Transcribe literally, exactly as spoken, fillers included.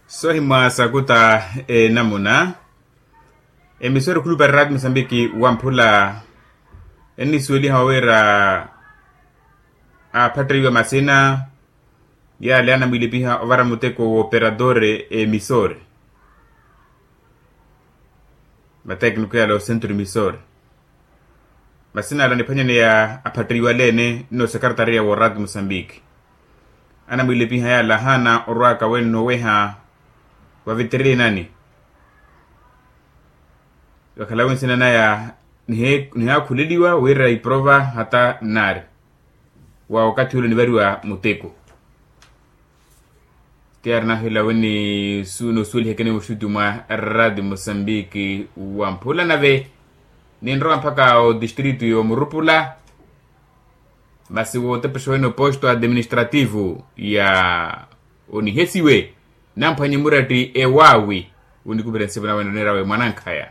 Soohimwa sakuta enamuna. Emisori khulupa rati musambiki wamphula ennisuweliha wira aphattiwa masina yale anamwilepiha ovara muteko wooperatore emisori. Matekniko yale osentro emisori. Masina ala aniphwanyaneya aphattiwaleene nno sekaretariya wooraati musambiki. Anamwilepiha yale ahaana orwaaka wenno oweha wa vitirinani. Vakhalawe nsina naya nihe- nihaakhuleliwa wira iprova hata nnaari wa wakathi ule onivariwa muteko. Ti ari nahela weni suno suwelihekene muxuti mwa rati musambiki wamphula nave ninrowa mpaka otistritu yomurupula. Masi wotepexa wene oposto administrativo ya onihesiwe namphwanye muratti ewaawi. Wunikupira nsipu nawene onerawe mwanankhaya.